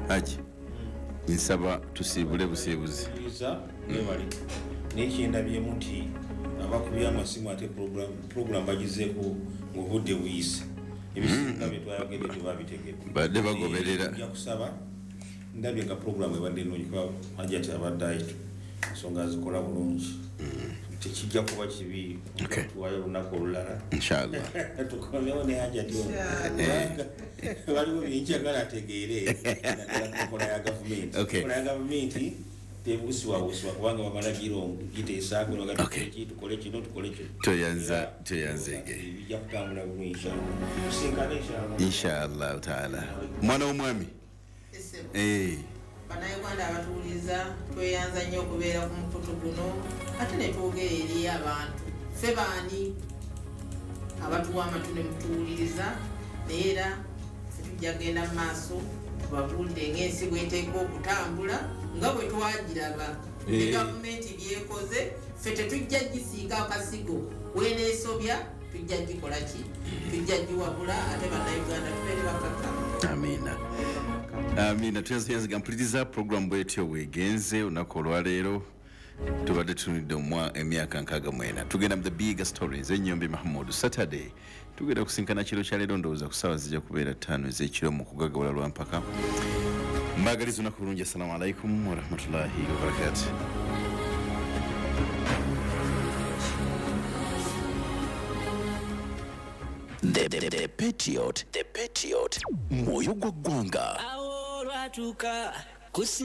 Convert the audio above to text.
Haji, nsaba tusiibule busiibuzi. Mwebale, naye kyendabyemu nti abakubye amasimu ate program bagizeeko ng'obudde buyise, ebisinga bye twayogedde tebabitegedde. Badde bagoberera. Nja kusaba, ndabye nga program ebadde nnungi kuba Hajati abadde ayitu ensonga azikola bulungi, tekijja kuba kibi tuwayo olunaku olulala. Inshallah. Tukomewo ne Hajati ono, kubanga waliwo byenjagala ategeere, naddala ku nkola ya gavumenti. Enkola ya gavumenti tebuusibwabuusibwa kubanga bamala giteesaako ki, tukole kino, tukole kino. Toyanza, toyanzege. Bijja kutambula bulungi inshallah, tusinkane inshallah. Inshallah taala. Mwana w'omwami. Bannayuganda abatuwuliriza, tweyanza nnyo okubeera ku mukutu guno ate ne twogera eri abantu. Ffe baani abatuwa amatu ne mutuwuliriza, naye era ffe tujja kugenda mu maaso tubabuulire ng'ensi bw'eteekwa okutambula nga bwe twagiraba ne gavumenti byekoze. Ffe tetujja gisiiga akasigo, weneesobya tujja gikola ki, tujja giwabula, ate bannayuganda tubeere bakakkamu. Amina, amina. Tuyanziga mpuliriza program bwetyo bwegenze olunaku olwaleero. Tubadde tunulidde emyaka 64, tugenda mu the big stories. Enyombi Mahmud Saturday tugenda kusinkana kiro kya leero, ndowooza ku ssaawa zijja kubeera 5 ez'ekiro mu kugagawala lwampaka. Mbagaliza olunaku bulungi. Assalamu alaikum warahmatullahi wabarakatuh. The Patriot, The Patriot, mwoyo gwa ggwanga. Awo olwatuuka kusi